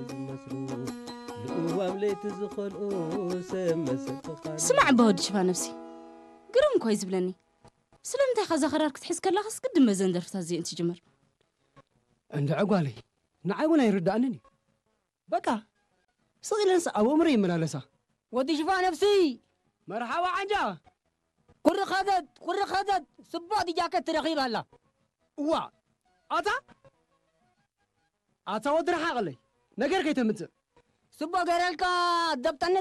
ዝመስሉ ልእዋም ለይቲ ዝኸልኡ ሰብ መሰል ፍቓድ ስማዕ እባ ወዲ ሽፋ ነብሲ፣ ግርም እኮ እዩ ዝብለኒ። ስለምንታይ ኢኻ እዛ ክራር ክትሕዝ ከላኻስ ግድን በዘን ደርፍታት እዚአን ትጅምር? እንድዒ ጓለይ፣ ንዓይ እውን ኣይርድኣንን እዩ። በቃ ስቕ ኢለንስ ኣብ ኣእምሮ ይመላለሳ። ወዲ ሽፋ ነብሲ፣ መርሓባ ዓንጃ። ቁሪ ኸዘት ቁሪ ኸዘት፣ ጽቡቕ ዲጃከት ትረኺብ ኣላ። እዋ ኣታ ኣታ ወዲ ረሓቐለይ፣ ነገር ከይተምጽእ። ጽቡቕ ገረልካ፣ ደብጠና